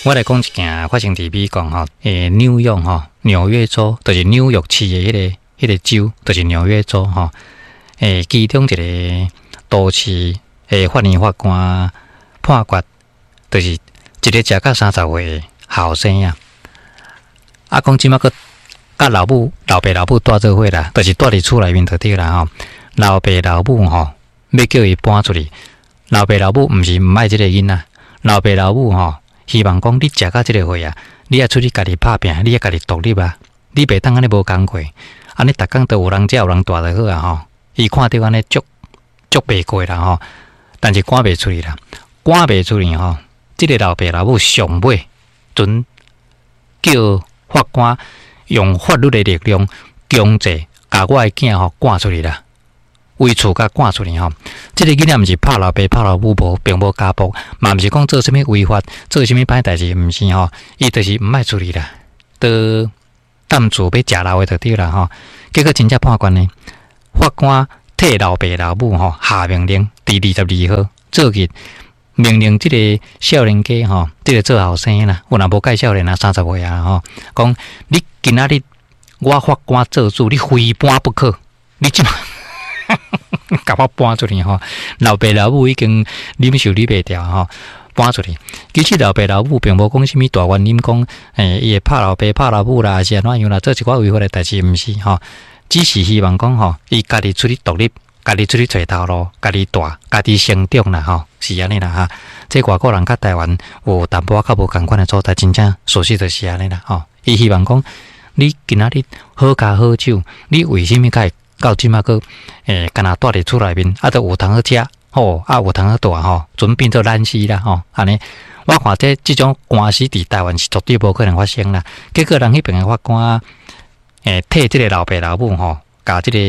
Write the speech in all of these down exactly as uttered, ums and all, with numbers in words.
我來講一件發生佇美國吼，欸，紐約吼，紐約州，就是紐約市的彼个彼個州，就是紐約州吼。欸，其中一個都市的法院法官判決，就是一个食到三十歲的後生仔，啊，講這馬閣佮老母、老爸、老母蹛做伙啦，就是蹛佇厝內面就對啦吼。老爸老母吼，欲叫伊搬出去，老爸老母毋是毋愛這个囡仔，老爸老母吼，希望講你食到這个歲啊，你愛出去家己拍拚，你愛家己獨立啊，你袂當按呢無工課，按呢逐工都有人食有人蹛就好啊吼。伊看著按呢足足袂過啦吼，但是趕袂出去啦，趕袂出去吼。這个老爸老母上尾準叫法官用法律的力量強制共我的囝吼趕出去啦。為厝共趕出去吼，這个囡仔毋是拍老爸拍老母無，並無家暴，嘛毋是講做啥物違法，做啥物歹代誌，毋是吼，伊就是毋愛出去啦，都踮厝欲食老的就對啦吼。結果真正判決呢，法官替老爸老母吼下命令，佇二十二號做日命令這個少年家吼，這個做後生啦，有若無蓋少年啊，三十歲啊吼，講你今仔日我法官做主，你非搬不可，你這馬。共我搬出去吼，老爸老母已經忍受你袂牢吼，搬出去。其實老爸老母並無講啥物大原因，講欸伊會拍老爸拍老母啦，還是按怎樣啦，做一寡違法的代誌，毋是吼，只是希望講吼，伊家己出去獨立，家己出去揣頭路，家己蹛，家己成長啦吼，是按呢啦哈。這外國人佮台灣有淡薄仔較無仝款的所在，真正事實就是按呢啦吼。伊希望講，你今仔日好跤好手，你為啥物較會到這馬閣欸，干焦蹛佇厝內面，啊，都有通好食，吼，啊，有通好蹛吼，準變做懶死啦吼，按呢，我看這這種官司佇台灣是絕對無可能發生啦。結果人彼爿的法官，欸，替這个老爸老母吼，共這个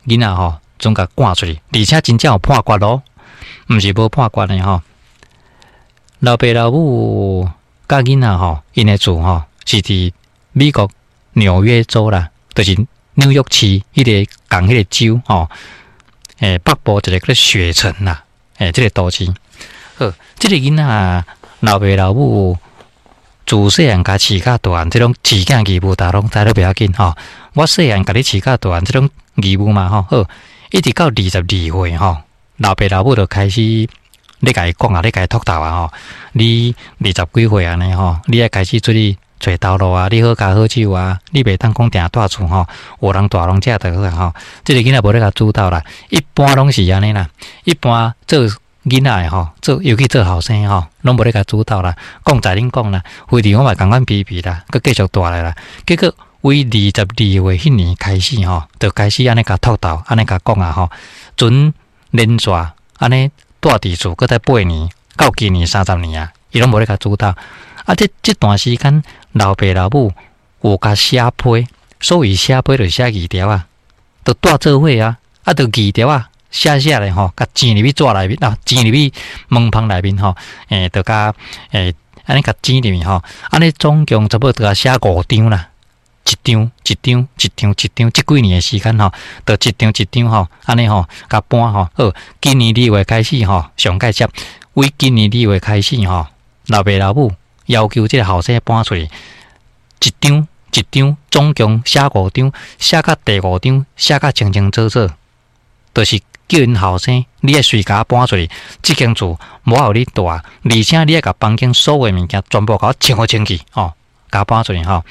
囡仔吼，準共趕出去，而且真正有判決咯，毋是無判決的吼。老爸老母佮囡仔吼，𪜶的厝吼是佇美國紐約州啦，就是紐約市彼个仝彼個州吼，欸，北部一个叫做雪城啦，欸，這个都市。好，這个囡仔老爸老母自細漢共飼甲大漢，這種飼囝義務，大家攏知都袂要緊吼。我細漢共你飼甲大漢，這種義務嘛吼。好，一直到二十二歲吼，老爸老母就開始咧共伊講啊，咧共伊托頭啊吼。你二十幾歲按呢吼，你愛開始出去揣頭路啊，你好跤好手啊，你袂當講定蹛厝吼，有人蹛攏食就好啊吼。這个囡仔無咧共主導啦，一般攏是按呢啦，一般做囡仔的吼，做尤其做後生吼，攏無咧共主導啦。講在恁講啦，非佇我嘛仝款皮皮啦，閣繼續蹛來啦。結果為二十二歲彼年開始吼，就開始按呢共托頭，按呢共講啊吼，準連續按呢蹛佇厝，閣再八年，到今年三十年啊，伊攏無咧共主導。啊，這這段時間，老爸老母有共寫批，所謂寫批就寫字條啊，就蹛做伙啊，啊，就字條啊，寫寫咧吼，共剪入去紙內面啊，剪入去門縫內面吼，欸，就共欸，按呢共剪入去吼，按呢總共差不多共寫五張啦，一張一張一張一張，這幾年的時間吼，就一張一張吼，按呢吼，共搬吼。好，今年二月開始吼，上蓋接，為今年二月開始吼，老爸老母要求這個後生搬出去，一張一張，總共寫五張，寫到第五張，寫甲清清楚楚，就是叫𪜶後生，你愛隨共我搬出去，這間厝無愛予你蹛，而且你愛共房間所有物件全部共我清好清去，吼，共我搬出去吼。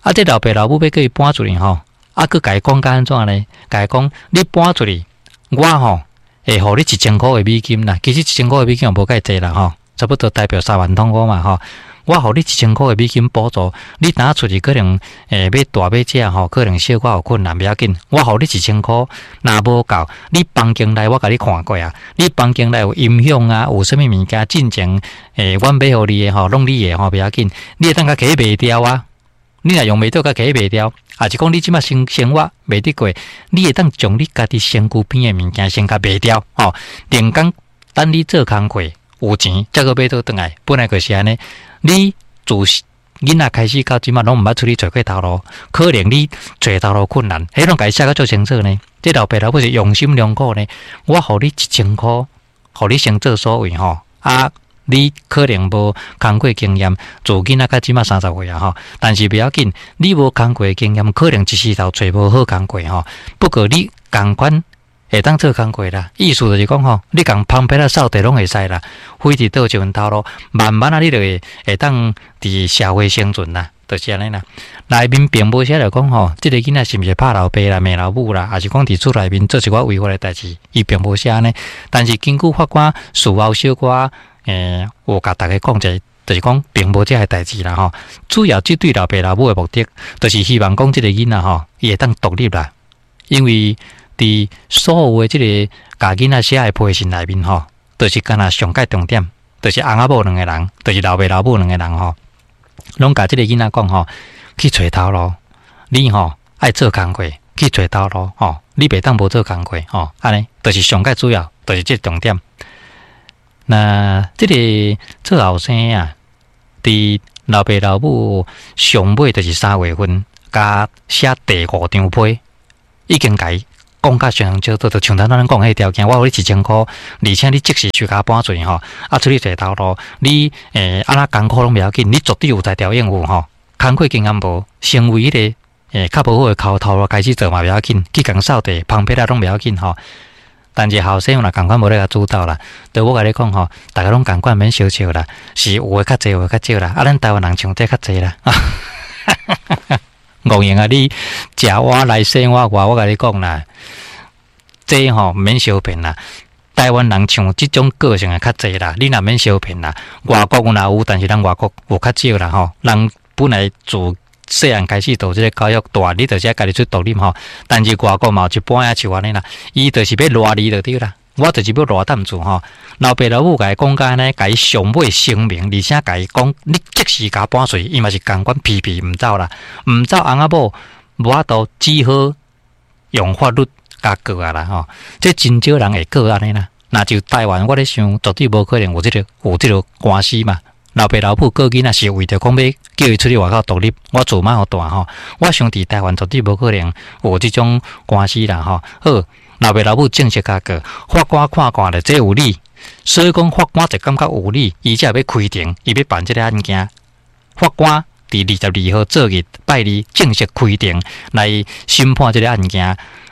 啊，這老爸老母欲叫伊搬出去吼，啊，閣共伊講甲按怎呢？共伊講，你搬出去，我吼會予你一千箍的美金啦。其實一千箍的美金也無蓋濟啦，吼，差不多台幣三萬通箍嘛，吼。我予你一千箍的美金補助，你若出去可能欸欲蹛欲食吼，可能小可有困難，袂要緊。我予你一千箍，若無夠，你房間內我共你看過啊，你房間內有音響啊，有啥物物件進前欸，阮買予你的吼，攏你的吼，袂要緊，你會當共摕去賣掉啊。你若用袂著，共摕去賣掉，抑是講你這馬生生活袂得過，你會當將你家己身軀邊的物件先共賣掉，吼，連工等你做工課有錢，才閣買倒轉來。本來就是按呢，你自囡仔開始到這馬攏毋捌出去揣過頭路，可能你揣頭路困難，彼攏共伊寫甲足清楚呢。這老爸老母是用心良苦呢，我予你一千箍，予你先做所為吼，啊，你可能無工課經驗，自囡仔到這馬三十歲啊吼，但是袂要緊，你無工課經驗，可能一時頭揣無好工課吼。不過你仝款會當做工課啦，意思就是講吼，你共芳被仔掃地攏會使啦，揮佇倒一份頭路，慢慢啊，你就會會當佇社會生存啦，就是按呢啦。內面並無寫著講吼，這个囡仔是毋是拍老爸啦、罵老母啦，抑是講佇厝內面做一寡違法的代誌，伊並無寫按呢。但是根據法官事後小可，欸，有共大家講者，就是講並無這个代誌啦吼。主要這對老爸老母的目的，就是希望講這个囡仔吼，伊會當獨立啦，因為佇所有的這个共囡仔寫的批信內面吼，就是敢若上蓋重點，就是翁仔某兩個人，就是老爸老母兩個人吼，攏共這个囡仔講吼，去揣頭路，你吼愛做工課，去揣頭路吼，你袂當無做工課吼，按呢，就是上蓋主要，就是這個重點。那這個做後生啊，佇老爸老母上尾就是三月份，共寫第五張批，已經共伊講甲相當清楚，就像頭咱講彼條件，我予你一千箍，而且你即時就共搬出去吼，啊出去揣頭路，你欸按怎艱苦攏袂要緊，你絕對有才調應付吼。工課經驗無，成為彼个欸較無好的口頭路開始做嘛袂要緊，去共掃地、芳被仔攏袂要緊吼。但是後生若仝款無咧共主導啦，對我共你講吼，逐家攏仝款免相笑啦，是有的較濟，有的較少啦。啊，咱台灣人像這較濟啦。戇用啊！你食碗來洗碗外，我共你講啦，這吼毋免相騙啦。台灣人像這種個性的較濟啦，你若免相騙啦。外國有若有，但是咱外國有較少啦吼。人本來自細漢開始就這个教育，大你就是愛家己出獨立吼。但是外國嘛有一般仔像按呢啦，伊就是欲賴你就對啦。我就是欲賴躉住吼。老爸老母共伊講甲按呢，共伊上尾聲明，而且共伊講，你即時共搬出去，伊嘛是仝款皮皮毋走啦，毋走翁仔某無法度，只好用法律共告啊啦吼。這真少人會告按呢啦。若就台灣，我咧想絕對無可能有這个有這个官司嘛。老爸老母告囡仔是為著講欲叫伊出去外口獨立，我厝嘛予大吼。我想佇台灣絕對無可能有這種官司啦吼。好，老爸老母正式共告，法官看看咧，這有理，所以講法官就感覺有理，伊才欲開庭，伊欲辦這个案件。法官佇二十二號做日拜二正式開庭來審判這个案件。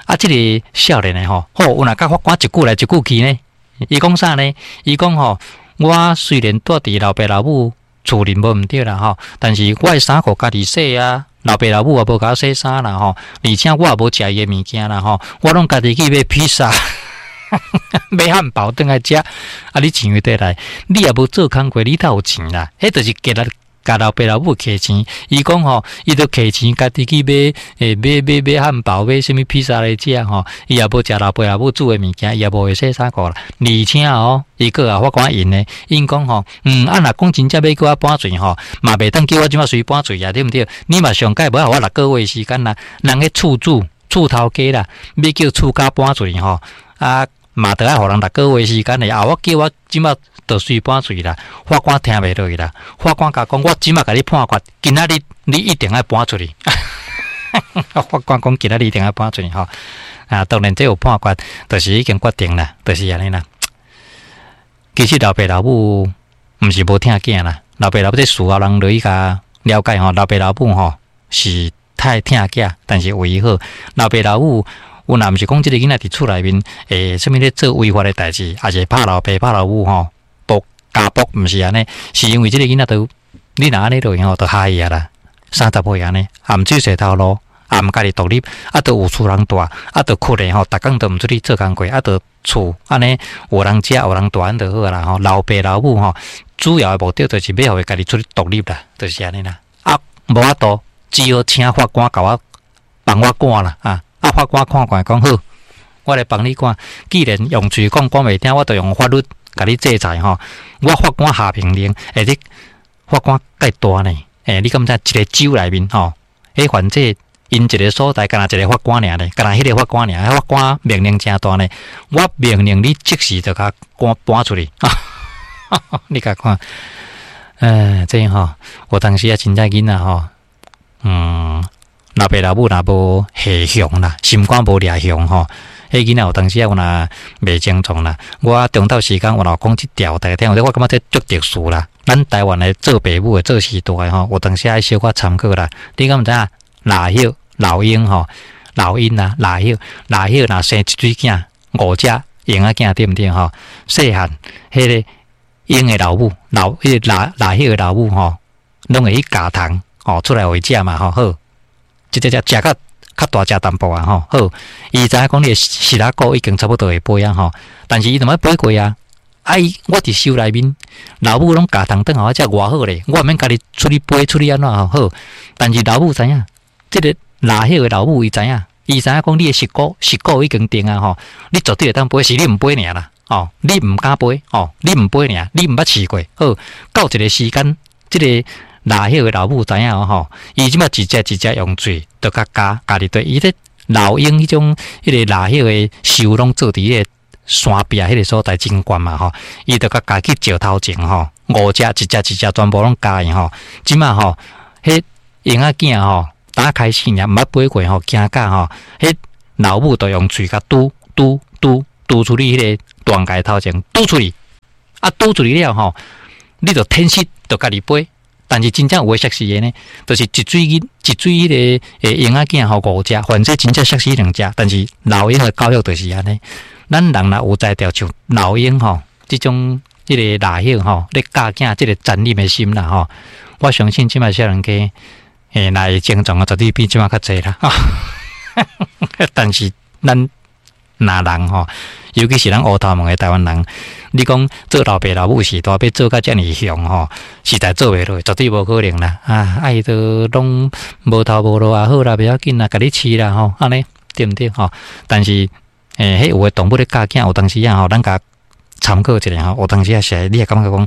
啊，這個少年的吼，好，有若佮法官一句來一句去呢？伊講啥呢？伊講吼，我雖然蹛佇老爸老母厝裡無毋對啦吼，但是我的衫褲家己洗啊，老爸老母也無共我洗衫啦吼，而且我也無食伊的物件啦吼，我攏家己去買披薩、買漢堡轉來食。啊，你錢佗來？你也無做工課，你佗有錢啦？彼就是結來共老爸老母挃錢。伊講吼，伊就挃錢家己去買，欸，買買買漢堡，買啥物披薩來食吼。伊也無食老爸老母煮的物件，伊也無會洗衫褲啦。而且哦，伊閣予法官應呢，𪜶講吼，嗯，啊，若講真正欲叫我搬出吼，嘛袂當叫我這馬隨搬出啊，對毋對？你嘛上蓋無愛予我六個月時間啦。人彼厝主、厝頭家啦，欲叫厝家搬出吼，啊，嘛著愛予人六個月時間咧。啊，我叫我這馬就隨搬出啦，法官聽袂落去啦。法官共講，我這馬共你判決，今仔日你一定愛搬出去。法官講，今仔日一定愛搬出去吼。啊，當然這有判決，就是已經決定啦，就是按呢啦。其實老爸老母毋是無疼囝啦，老爸老母這事後人落去共了解吼，老爸老母吼是太疼囝，但是為伊好，老爸老母有若毋是講這个囡仔佇厝內面，欸，啥物咧做違法的代誌，抑是拍老爸拍老母吼，暴家暴，毋是按呢，是因為這个囡仔都你若按呢落去吼，就害伊啊啦，三十歲按呢，也毋出揣頭路，也毋家己獨立，啊，都有厝人蹛，啊，都困咧吼，逐工都毋出去做工課，啊，都厝按呢有人食有人蹛按就好啦吼。老爸老母吼，主要的目的就是欲予伊家己出去獨立啦，就是按呢啦。啊，無法度，只好請法官共我幫我趕啦啊！啊，法官看看講好，我來幫你趕。既然用喙講講袂聽，我就用法律共你制裁吼。我法官下命令，欸，這法官蓋大呢？欸，你敢知一个州內面吼，彼反正𪜶一个所在，敢若一个法官爾呢，敢若彼个法官爾，法官命令誠大呢。我命令你即時就共趕搬出去。你共看，呃，這吼，有當時啊，真正囡仔吼，嗯，老爸老母若無下雄啦，心肝無掠雄吼，彼囡仔有當時啊，有若袂精壯啦。我中晝時間我若講這條，大家聽有，我感覺這足特殊啦。咱台灣的做爸母的做序大的吼，有當時愛小可參考啦。你敢毋知影？蠟葉老鷹吼，老鷹啊，蠟葉蠟葉若生一水囝，五隻嬰仔囝對毋對吼？細漢彼个鷹的老母，老彼个蠟蠟葉的老母吼，攏會去咬蟲吼出來予伊食嘛吼。好，這隻隻食較較大隻淡薄啊吼。好，伊知影講你的膝仔骨已經差不多會飛啊吼，但是伊就毋捌飛過啊。啊！伊我佇收內面，老母攏咬蟲轉予我食偌好咧，我毋免家己出去飛出去按怎吼好。但是老母知影，這个蠟葉的老母伊知影，伊知影講你的膝骨膝骨已經定啊吼，你絕對會當飛，是你毋飛爾啦，吼，你毋敢飛，吼，你毋飛爾，你毋捌試過。好，到一个時間，這个蠟葉的老母知影吼，伊這擺一隻一隻用喙就共咬咬入對，伊咧老鷹彼種彼个蠟葉的樹攏做佇彼个山壁彼个所在真懸嘛吼，伊就共咬去石頭前吼，五隻一隻一隻全部攏咬去吼，這擺吼，彼嬰仔囝吼，打開始爾毋捌飛過吼，驚甲吼，彼老母就用喙共拄拄拄拄出去彼个斷崖頭前，拄出去，啊拄出去了吼，你就天時就家己飛。但是真正有的摔死的呢，就是一水囡一水彼个欸嬰仔囝吼五隻，反正真正摔死兩隻。但是老鷹的教育就是按呢，咱人若有才調，像老鷹吼，這種彼个蠟葉吼，咧教囝這个殘忍的心啦吼，我相信這擺少年家，欸，若會精壯啊，絕對比這擺較濟啦。但是咱若人吼，尤其是咱烏頭毛的台灣人，你講做老爸老母時代欲做甲遮爾雄吼，實在做袂落，絕對無可能啦！啊，啊伊都攏無頭無路也好啦，袂要緊啦，共你飼啦吼，按呢對毋對吼？但是，欸，彼有的動物咧教囝，有當時啊吼，咱共參考一下吼，有當時啊是，你會感覺講，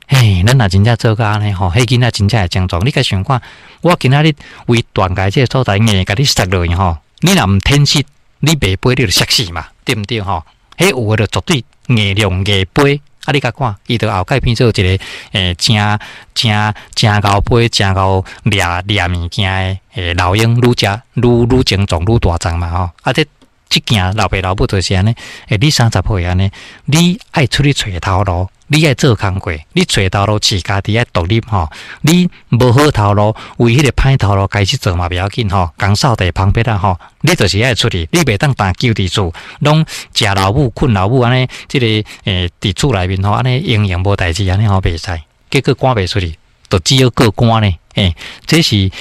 嘿，咱若真正做甲按呢吼，彼囡仔真正會精壯。你共想看，我今仔日為斷崖這个所在硬共你摔落去吼，你若毋天時，你袂飛，你就摔死嘛，對毋對吼？彼有的就絕對硬量硬飛，啊！你共看，伊就後蓋變做一个欸，誠誠誠𠢕飛、誠𠢕掠掠物件的欸老鷹，愈食愈愈精壯、愈大隻嘛吼！啊，這這件老爸老母就是按呢，欸，你三十歲按呢，你愛出去揣頭路，你愛做工課，你揣頭路飼家己愛獨立吼，你無好頭路，為彼个歹頭路開始做嘛袂要緊吼，共掃地芳別仔吼，你就是愛出去，你袂當儋勼佇厝，攏食老母、睏老母按呢，這个欸佇厝內面吼，按呢閒閒無代誌按呢吼袂使，結果趕袂出去，就只好過官呢，欸，這是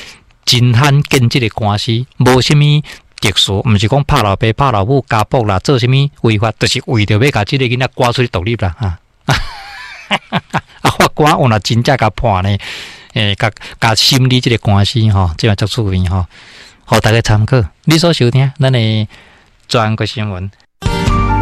真罕見這个官司，無啥物特殊，毋是講拍老爸、拍老母、家暴啦，做啥物違法，就是為著欲共這个囡仔趕出去獨立啦，哈。啊，法官有若真正共判呢，欸，共共審理這个官司吼，這嘛足趣味吼，予大家參考。你所收聽咱的全國新聞。